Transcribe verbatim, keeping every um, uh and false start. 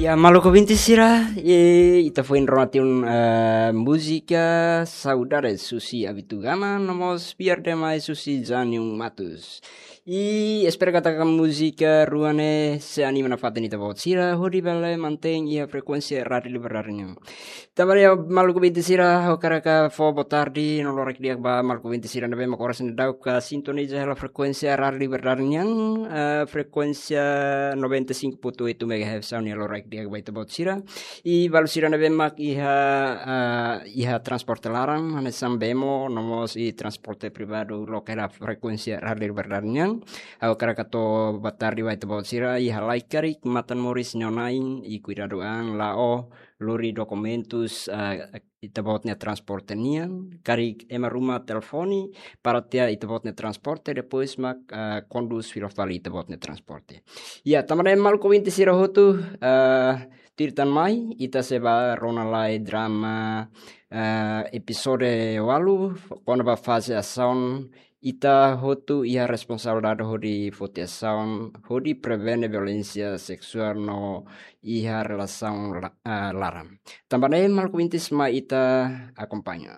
Ya, maluk ouvinte sira, e ita foin rona tiha ona, eh, múzika Saudades husi Abitugama, no mós Biar Demais husi Janium Matus. I espera katak múzika rua ne'e sei anima nafatin ita-boot sira, hodi bele mantein iha frekuénsia Rádiu Liberdade nian. Tanba ne'e, maluk ouvinte sira, ha'u hakarak fó boa tarde no loron di'ak ba maluk ouvinte sira ne'ebé mak oras ne'e daudaun sintoniza hela frekuénsia Rádiu Liberdade nian, eh, frekuénsia noventa e cinco ponto oito megahertz, ha'u hanoin loron di'ak ba ita-boot sira. I balu sira ne'ebé mak iha, eh, iha transporte laran, hanesan bemo, no mós iha transporte privadu, loke hela frekuénsia Rádiu Liberdade nian. Ha'u hakarak hato'o boa tarde ba ita-boot sira, iha lai karik, matan moris neon-na'in, i kuidadu an, la'o, lori dokumentus, eh, ita-boot nia transporte nian, karik ema ruma telefone, para tiha ita-boot nia transporte, depois mak, eh, kondús fila fali ita-boot nia transporte. Ya, tanba ne'e maluk ouvinte sira hotu, eh, tuir tan mai, ita sei bá rona lai drama, eh, epizódiu ualu, kona-ba faze asaun, ita hotu iha responsabilidade hodi foti asaun, hodi prevene violénsia seksuál no iha relasaun la-, eh, laran. Tanba ne'e maluk ouvinte sira mai ita akompaña.